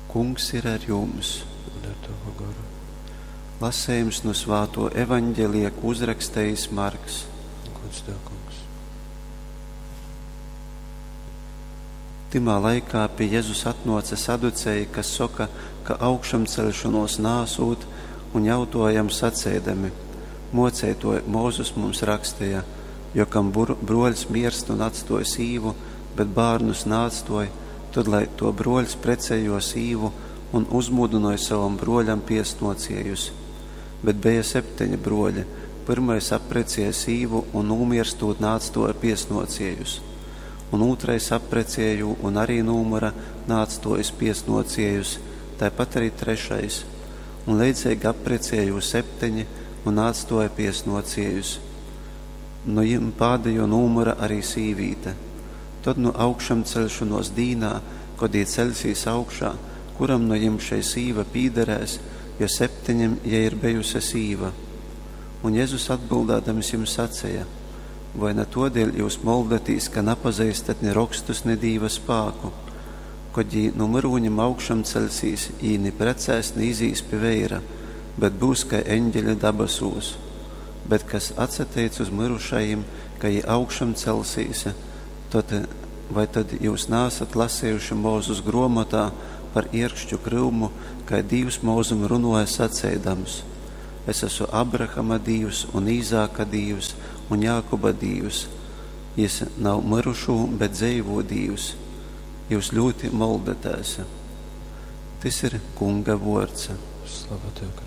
Kungs ir ar jums. Un ar tavu goru. Lasējums no svāto evaņģelija, ko uzrakstījis Marks. Gods tev, kungs. Timā laikā pie Jēzus atnāca saducēji, kas soka, ka augšamcelšanos nāsūt, un jautojam sacēdami: Mocētoj, Mūzus mums rakstīja, jo kam broļs mirst un atstoja sīvu, bet bērnus nāatstoja, tad lai to broļs precējo sīvu un uzmudināja savam broļam piesnociejus. Bet bija septeņi broļi. Pirmais apprecēja sīvu un nūmirstot nāatstoja piesnociejus. Un otrais apprecēja jū un arī nūmura nāatstojas piesnociejus, tāpat arī trešais. Un leidzīgi apprecēja jū septeņi un nāatstoja piesnociejus. Nu jim pādējo nūmura arī sīvīte. Tad nu augšam celšanos dīnā, kod jī celsīs augšā, kuram no jim šei sīva pīderēs, jo septeņiem jai ir bijusi sīva. Un Jēzus atbildādams jums sacīja: Vai ne todēļ jūs moldatīs, ka napazīstat ne rakstus, ne dīva spāku? Kod jī no myrūņim augšam celsīs, jī ni precēs, ni izīs pie veira, bet būs kā eņģeļi dabasūs. Bet kas atsateic uz mirušajiem, ka jī augšam celsīs, tad vai tad jūs nāsat lasējuši Mūzus gromotā par ierkšķu kryumu, kai Dīvs Mūzum runoja sacēdams: Es esmu Abrahama Dīvs un Īzāka Dīvs un Jākuba Dīvs. Jis nav mirušū, bet dzeivo Dīvs. Jūs ļoti moldatēs. Tys ir Kunga vords. Slava tev, Kristus.